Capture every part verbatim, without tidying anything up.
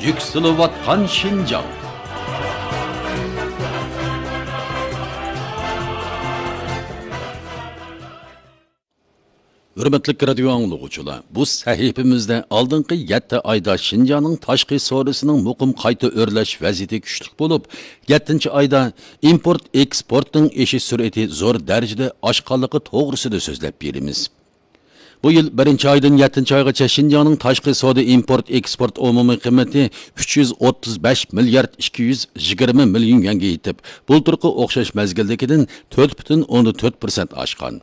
يۈكسىلىۋاتقان شىنجاڭ. ھۆرمەتلىك رادىيو ئاڭلىغۇچىلار، بۇ سەھىپىمىزدە ئالدىنقى يەتتە ئايدا شىنجاڭنىڭ تاشقى سودىسىنىڭ مۇقىم قايتا ئۆرلەش ۋەزىيىتى كۈچلۈك بولۇپ، يەتتىنچى ئايدا ئىمپورت ئېكسپورتنىڭ ئېشىش سۈرئىتى زور دەرىجىدە ئاشقانلىقى توغرىسىدا سۆزلەپ بېرىمىز. بۇ يىل بىرىنچى ئايدىن يەتتىنچى ئايغىچە شىنجاڭنىڭ تاشقى سودا ئىمپورت ئېكسپورت ئومۇمىي قىممىتى ئۈچ يۈز ئوتتۇز بەش مىليارد ئىككى يۈز يىگىرمە مىليون يۈەنگە يېتىپ، بۇلتۇرقى ئوخشاش مەزگىلدىكىدىن تۆت پۈتۈن ئوندىن تۆت پىرسەنت ئاشقان.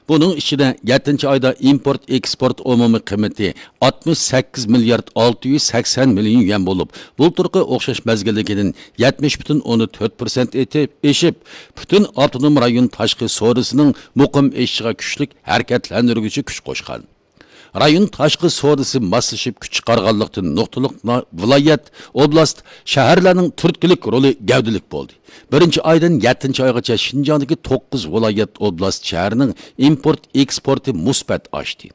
بۇنىڭ ئىچىدە يەتتىنچى ئايدا ئىمپورت ئېكسپورت ئومۇمىي قىممىتى ئاتمىش سەككىز مىليارد ئالتە يۈز سەكسەن مىليون يۈەن بولۇپ، بۇلتۇرقى ئوخشاش مەزگىلدىكىدىن يەتمىش پۈتۈن ئوندىن تۆت پىرسەنت ئېتىپ، ئېشىپ، پۈتۈن ئاپتونوم رايون تاشقى سودىسىنىڭ مۇقىم ئېشىشىغا كۈچلۈك ھەرىكەتلەندۈرگۈچى كۈچ قوشقان. رايون تاشقى سودىسى ماسلىشىپ كۈچ چىقارغانلىقتىن، نۇقتىلىق نا-، ۋىلايەت، ئوبلاست، شەھەرلەرنىڭ تۈرتكىلىك رولى گەۋدىلىك بولدى. بىرىنچى ئايدىن يەتتىنچى ئايغىچە شىنجاڭدىكى توققۇز ۋىلايەت، ئوبلاست، شەھەرنىڭ ئىمپورت ئېكسپورتى مۇسبەت ئاشتى.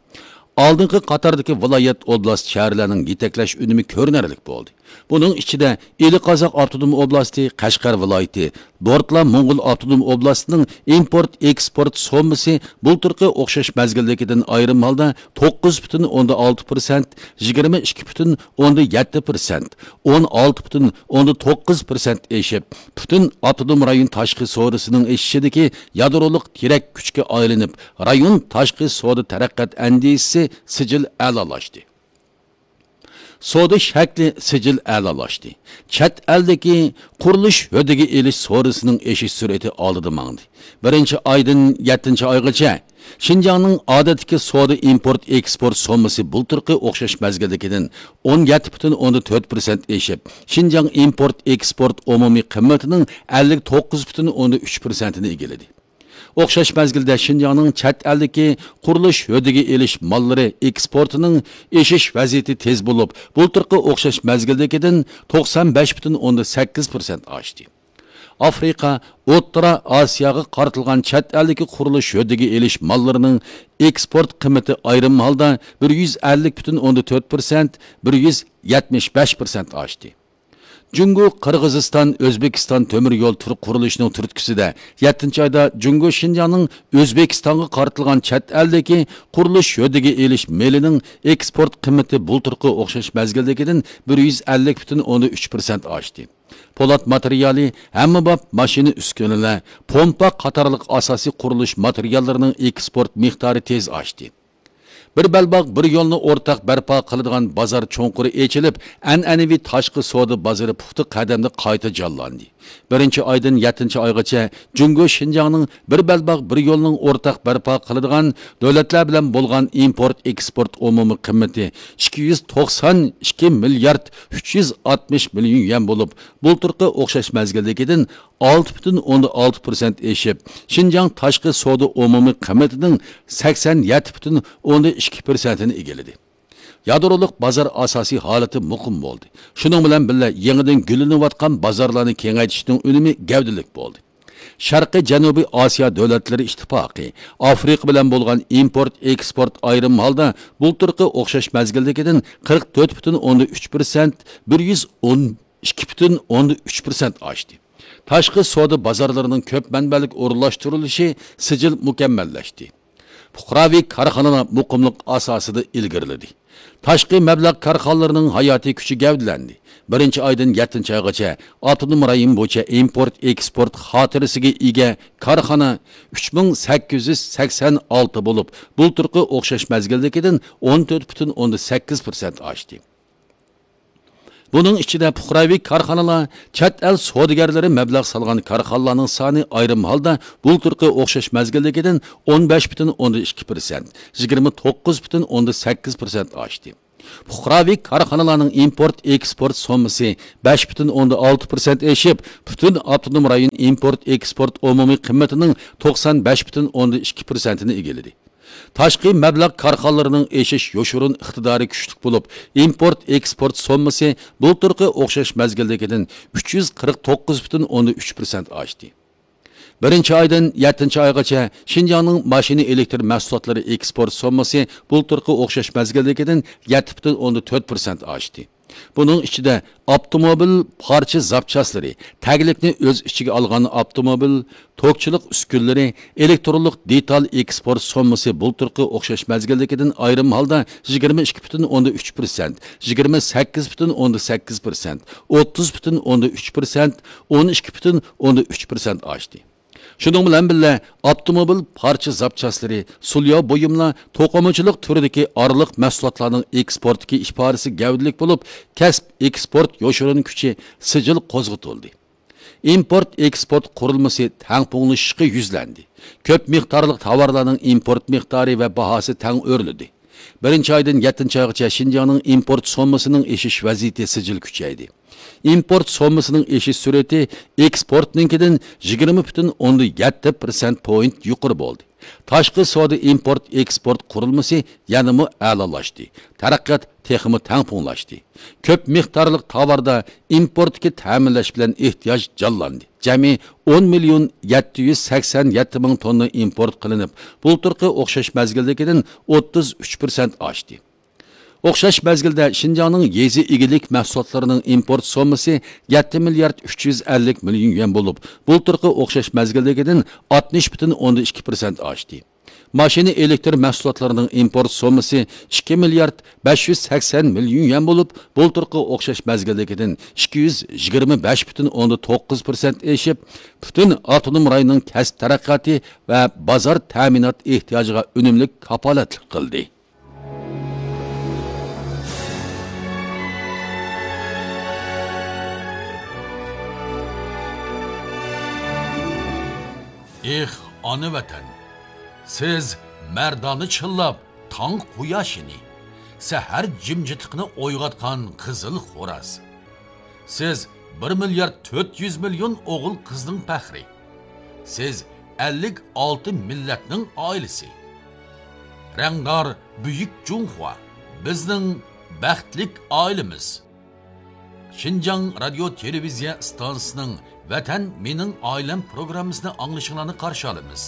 ئالدىنقى قاتاردىكى ۋىلايەت، ئوبلاست، شەھەرلەرنىڭ يېتەكلەش ئۈنۈمى كۆرۈنەرلىك بولدى. بۇنىڭ ئىچىدە ئىلى قازاق ئاپتونوم ئوبلاستى، قەشقەر ۋىلايىتى، دورتلا موڭغۇل ئاپتونوم ئوبلاستىنىڭ ئىمپورت ئېكسپورت سوممىسى بۇلتۇرقى ئوخشاش مەزگىلدىكىدىن ئايرىم ھالدا توققۇز پۈتۈن ئوندىن ئالتە پىرسەنت، يىگىرمە ئىككى پۈتۈن ئوندىن يەتتە پىرسەنت، ئون ئالتە پۈتۈن ئوندىن توققۇز پىرسەنت ئېشىپ، پۈتۈن ئاپتونوم رايون تاشقى سودىسىنىڭ ئېشىشىدىكى يادرولۇق تىرەك كۈچكە ئايلىنىپ، رايون تاشقى سودا تەرەققىيات ئەندىزىسى سىجىل ئەلالاشتى. سودا شەكلى سىجىل ئەلالاشتى. چەت ئەلدىكى قۇرۇلۇش ھۆددىگە ئېلىش سودىسىنىڭ ئېشىش سۈرئىتى ئالدىدا ماڭدى. بىرىنچى ئايدىن يەتتىنچى ئايغىچە شىنجاڭنىڭ ئادەتتىكى سودا ئىمپورت ئېكسپورت سوممىسى بۇلتۇرقى ئوخشاش مەزگىلدىكىدىن ئون يەتتە پۈتۈن ئوندىن تۆت پىرسەنت ئېشىپ، شىنجاڭ ئىمپورت ئېكسپورت ئومۇمىي قىممىتىنىڭ ئەللىك توققۇز پۈتۈن ئوندىن ئۈچ پىرسەنتىنى ئىگىلىدى. ئوخشاش مەزگىلدە شىنجاڭنىڭ چەت ئەلدىكى قۇرۇلۇش ھۆددىگە ئېلىش ماللىرى ئېكسپورتىنىڭ ئېشىش ۋەزىيىتى تېز بولۇپ، بۇلتۇرقى ئوخشاش مەزگىلدىكىدىن توقسان بەش پۈتۈن ئوندىن سەككىز پىرسەنت ئاشتى. ئافرىقا، ئوتتۇرا ئاسىياغا قارىتىلغان چەت ئەلدىكى قۇرۇلۇش ھۆددىگە ئېلىش ماللىرىنىڭ ئېكسپورت قىممىتى ئايرىم ھالدا بىر يۈز ئەللىك پۈتۈن ئوندىن تۆت پىرسەنت، بىر يۈز يەتمىش بەش پىرسەنت ئاشتى. جۇڭگو، قىرغىزىستان، ئۆزبېكىستان تۆمۈر يول تۈر قۇرۇلۇشىنىڭ تۈرتكىسىدە، يەتتىنچى ئايدا جۇڭگو شىنجاڭنىڭ ئۆزبېكىستانغا قارىتىلغان چەت ئەلدىكى قۇرۇلۇش ھۆددىگە ئېلىش مېلىنىڭ ئېكسپورت قىممىتى بۇلتۇرقى ئوخشاش مەزگىلدىكىدىن بىر يۈز ئەللىك پۈتۈن ئوندىن ئۈچ پىرسەنت ئاشتى. پولات ماتېرىيالى، ھەممىباب ماشىنا ئۈسكۈنىلەر، پومپا قاتارلىق ئاساسىي قۇرۇلۇش ماتېرىياللىرىنىڭ ئېكسپورت مىقدارى تېز ئاشتى. بىر بەلباغ، بىر يولنى ئورتاق بەرپا قىلىدىغان بازار چوڭقۇرى ئېچىلىپ، ئەنئەنىۋى تاشقى سودا بازىرى پۇختا قەدەمدە قايتا جانلاندى. بىرىنچى ئايدىن يەتتىنچى ئايغىچە جۇڭگو شىنجاڭنىڭ بىر بەلباغ، بىر يولنىڭ ئورتاق بەرپا قىلىدىغان دۆلەتلەر بىلەن بولغان ئىمپورت ئېكسپورت ئومۇمىي قىممىتى ئىككى يۈز توقسان ئىككى مىليارد ئۈچ يۈز ئاتمىش مىليون يۈەن بولۇپ، بۇلتۇرقى ئوخشاش مەزگىلدىكىدىن ئالتە پۈتۈن ئوندىن ئالتە پىرسەنت ئېشىپ، شىنجاڭ تاشقى سودا ئومۇمىي قىممىتىنىڭ سەكسەن يەتتە پۈتۈن ئوندىن ئىككى پىرسەنتىنى ئىگىلىدى. يادرولۇق بازار ئاساسىي ھالىتى مۇقىم بولدى. شۇنىڭ بىلەن بىللە، يېڭىدىن گۈللىنىۋاتقان بازارلارنى كېڭەيتىشنىڭ ئۈنۈمى گەۋدىلىك بولدى. شەرقىي جەنۇبىي ئاسىيا دۆلەتلىرى ئىتتىپاقى ئافرىقا بىلەن بولغان ئىمپورت ئېكسپورت ئايرىم ھالدا بۇلتۇرقى ئوخشاش مەزگىلدىكىدىن قىرىق تۆت پۈتۈن ئوندىن ئۈچ پىرسەنت، بىر يۈز ئون ئىككى پۈتۈن ئوندىن ئۈچ پىرسەنت ئاشتى. تاشقى سودا بازارلىرىنىڭ كۆپ مەنبەلىك ئورۇنلاشتۇرۇلۇشى سىجىل مۇكەممەللەشتى. پۇقراۋى كارخانىلار مۇقىملىق ئاساسىدا ئىلگىرىلىدى. تاشقى مەبلەغ كارخانىلىرىنىڭ ھاياتىي كۈچى گەۋدىلەندى. بىرىنچى ئايدىن يەتتىنچى ئايغىچە ئاپتونوم رايون بويىچە ئىمپورت ئېكسپورت خاتىرىسىگە ئىگە كارخانا ئۈچ مىڭ سەككىز يۈز سەكسەن ئالتە بولۇپ، بۇلتۇرقى ئوخشاش مەزگىلدىكىدىن ئون تۆت پۈتۈن ئوندىن سەككىز پىرسەنت ئاشتى. بۇنىڭ ئىچىدە پۇقراۋى كارخانىلار، چەت ئەل سودىگەرلىرى مەبلەغ سالغان كارخانىلارنىڭ سانى ئايرىم ھالدا بۇلتۇرقى ئوخشاش مەزگىلدىكىدىن ئون بەش پۈتۈن ئوندىن ئىككى پىرسەنت، يىگىرمە توققۇز پۈتۈن ئوندىن سەككىز پىرسەنت ئاشتى. پۇقراۋى كارخانىلارنىڭ ئىمپورت ئېكسپورت سوممىسى بەش پۈتۈن ئوندىن ئالتە پىرسەنت ئېشىپ، پۈتۈن ئاپتونوم رايون ئىمپورت ئېكسپورت ئومۇمىي قىممىتىنىڭ توقسان بەش پۈتۈن ئوندىن ئىككى پىرسەنتىنى ئىگىلىدى. تاشقى مەبلەغ كارخانىلىرىنىڭ ئېشىش يوشۇرۇن ئىقتىدارى كۈچلۈك بولۇپ، ئىمپورت ئېكسپورت سوممىسى بۇلتۇرقى ئوخشاش مەزگىلدىكىدىن ئۈچ يۈز قىرىق توققۇز پۈتۈن ئوندىن ئۈچ پىرسەنت ئاشتى. بىرىنچى ئايدىن يەتتىنچى ئايغىچە شىنجاڭنىڭ ماشىنا ئېلېكتر مەھسۇلاتلىرى ئېكسپورت سوممىسى بۇلتۇرقى ئوخشاش مەزگىلدىكىدىن يەتتە پۈتۈن ئوندىن تۆت پىرسەنت ئاشتى. بۇنىڭ ئىچىدە ئاپتوموبىل پارچە زاپچاسلىرى، تەگلىكنى ئۆز ئىچىگە ئالغان ئاپتوموبىل، توكچىلىق ئۈسكۈنىلىرى، ئېلېكترونلۇق دېتال ئېكسپورت سوممىسى بۇلتۇرقى ئوخشاش مەزگىلدىكىدىن ئايرىم ھالدا يىگىرمە ئىككى پۈتۈن ئوندىن ئۈچ پىرسەنت، يىگىرمە سەككىز پۈتۈن ئوندىن سەككىز پىرسەنت، ئوتتۇز پۈتۈن ئوندىن ئۈچ پىرسەنت، ئون ئىككى پۈتۈن ئوندىن ئۈچ پىرسەنت ئاشتى. شۇنىڭ بىلەن بىللە، ئاپتوموبىل پارچە زاپچاسلىرى، سۇلياۋ بۇيۇملار، توقۇمىچىلىق تۈرىدىكى ئارىلىق مەھسۇلاتلارنىڭ ئېكسپورتتىكى ئىپادىسى گەۋدىلىك بولۇپ، كەسىپ ئېكسپورت يوشۇرۇن كۈچى سىجىل قوزغىتىلدى. ئىمپورت ئېكسپورت قۇرۇلمىسى تەڭپۇڭلىشىشقا يۈزلەندى. كۆپ مىقدارلىق تاۋارلارنىڭ ئىمپورت مىقدارى ۋە باھاسى تەڭ ئۆرلىدى. بىرىنچى ئايدىن يەتتىنچى ئايغىچە شىنجاڭنىڭ ئىمپورت سوممىسىنىڭ ئېشىش ۋەزىيىتى سىجىل كۈچەيدى. ئىمپورت سوممىسىنىڭ ئېشىش سۈرئىتى ئېكسپورتنىڭكىدىن يىگىرمە پۈتۈن ئوندىن يەتتە پىرسەنت پوينت يۇقىرى بولدى. تاشقى سودا ئىمپورت ئېكسپورت قۇرۇلمىسى يەنىمۇ ئەلالاشتى. تەرەققىيات تېخىمۇ تەڭپۇڭلاشتى. كۆپ مىقدارلىق تاۋاردا ئىمپورتتىكى تەمىنلەش بىلەن ئېھتىياج جانلاندى. جەمئىي ئون مىليون يەتتە يۈز سەكسەن يەتتە مىڭ توننا ئىمپورت قىلىنىپ، بۇلتۇرقى ئوخشاش مەزگىلدىكىدىن ئوتتۇز ئۈچ پىرسەنت ئاشتى. ئوخشاش مەزگىلدە شىنجاڭنىڭ يېزا ئىگىلىك مەھسۇلاتلىرىنىڭ ئىمپورت سوممىسى يەتتە مىليارد ئۈچ يۈز ئەللىك مىليون يۈەن بولۇپ، بۇلتۇرقى ئوخشاش مەزگىلدىكىدىن ئاتمىش پۈتۈن ئوندىن ئىككى پىرسەنت ئاشتى. ماشىنا ئېلېكتر مەھسۇلاتلىرىنىڭ ئىمپورت سوممىسى ئىككى مىليارد بەش يۈز سەكسەن مىليون يۈەن بولۇپ، بۇلتۇرقى ئوخشاش مەزگىلدىكىدىن ئىككى يۈز يىگىرمە بەش پۈتۈن ئوندىن توققۇز پىرسەنت ئېشىپ، پۈتۈن ئاپتونوم رايوننىڭ كەسىپ تەرەققىياتى ۋە بازار تەمىنات ئېھتىياجىغا ئۈنۈملۈك كاپالەتلىك قىلدى. ئېھ، ئانا ۋەتەن! سىز مەردانە چىللاپ تاڭ قۇياشىنى، سەھەر جىمجىتلىقىنى ئويغاتقان قىزىل خوراز. سىز بىر مىليارد تۆت يۈز مىليون ئوغۇل قىزنىڭ پەخرى. سىز ئەللىك ئالتە مىللەتنىڭ ئائىلىسى. رەڭدار بۈيۈك جۇڭخۇا، بىزنىڭ بەختلىك ئائىلىمىز. شىنجاڭ رادىيو تېلېۋىزىيە ئىستانسىسىنىڭ ۋەتەن مېنىڭ ئائىلەم پروگراممىسىنى ئاڭلىشىڭلارنى قارشى ئالىمىز.